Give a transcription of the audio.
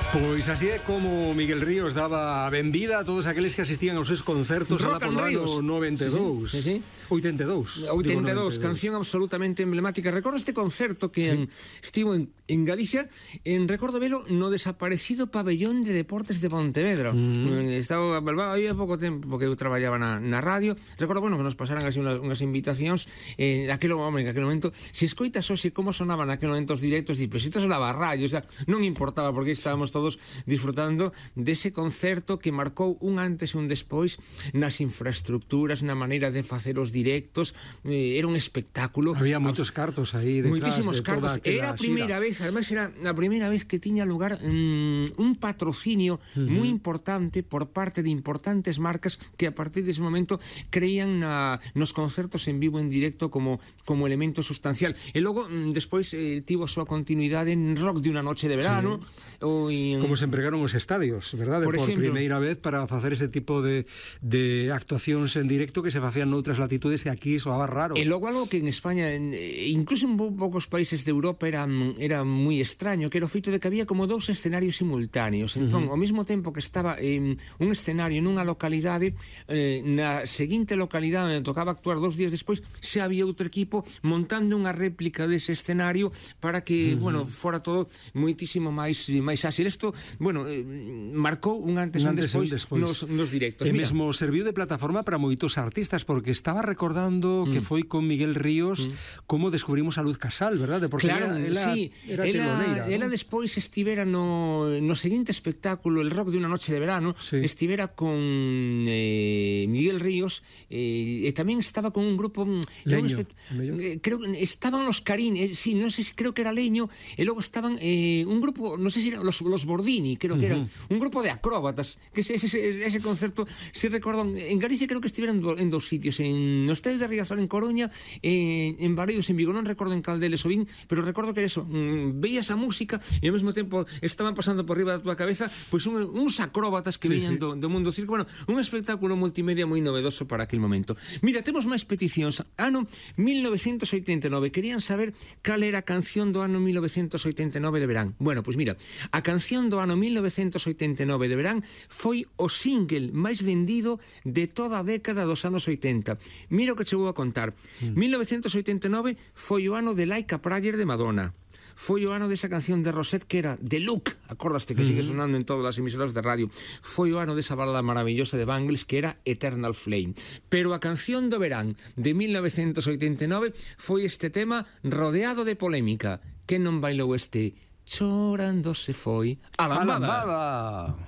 Pois así é como Miguel Ríos daba a benvida a todos aqueles que asistían aos seus concertos alá polo ano 92. Sí. 82. 82, canción absolutamente emblemática. Recordo este concerto que estivo en Galicia, recordo velo no desaparecido pabellón de deportes de Pontevedra. Estaba aí há pouco tempo, porque eu traballaba na radio. Recordo, bueno, que nos pasaran así unhas invitacións naquele momento. Se escoitas hoxe como sonaban naquele momento os directos, pues isto sonaba a radio, o sea, non importaba, porque estábamos todos disfrutando dese concerto que marcou un antes e un despois nas infraestructuras, na maneira de facer os directos. Era un espectáculo. Había moitos cartos aí detrás. Moitísimos cartos. Era a primeira vez, además era a primeira vez que tiña lugar un patrocinio moi importante por parte de importantes marcas que a partir dese momento creían nos concertos en vivo, en directo, como elemento sustancial. E logo, despois, tivo a súa continuidade en Rock de unha noche de verano, como se empregaron os estadios, verdade? Por primeira vez para facer ese tipo de actuacións en directo que se facían noutras latitudes e aquí soaba raro. E logo algo que en España, incluso en poucos países de Europa, era moi extraño, que era o feito de que había como dous escenarios simultáneos. Entón, ao mesmo tempo que estaba un escenario nunha localidade, na seguinte localidade onde tocaba actuar 2 días despois, se había outro equipo montando unha réplica dese escenario para que, bueno, fora todo moitísimo máis áxil. Isto, bueno, marcou un antes e un despois nos directos. E mesmo serviu de plataforma para moitos artistas, porque estaba recordando que foi con Miguel Ríos como descubrimos a Luz Casal, verdade? Porque claro, era teloneira, ela despois estivera no seguinte espectáculo, el Rock de unha noche de verano, estivera con Miguel Ríos, e tamén estaba con un grupo Leño, creo que estaban los Carín, non sei, creo que era Leño, e logo estaban un grupo, non sei se eran los Bordini, creo que eran un grupo de acróbatas, que ese concerto, se recordan, en Galicia creo que estiveran en 2 sitios, no estadio de Riazor en Coruña, en Baleidos en Vigo, non recordo en cal deles o vin, pero recordo que eso, veías a música e ao mesmo tempo estaban pasando por riba da túa cabeza pois uns acróbatas que viñan do mundo circo. Bueno, un espectáculo multimedia moi novedoso para aquel momento. Mira, temos máis peticións. Ano 1989, querían saber cal era a canción do ano 1989 de verán. Bueno, pois mira, a canción do ano 1989 de verán foi o single máis vendido de toda a década dos anos 80. Mira o que che vou a contar. 1989 foi o ano de Like a Prayer de Madonna. Foi o ano desa canción de Rosette que era The Look, acordaste que sigue sonando en todas as emisoras de radio. Foi o ano desa balada maravillosa de Bangles que era Eternal Flame. Pero a canción do verán de 1989 foi este tema rodeado de polémica. Que non bailou este Chorando se foi a lambada.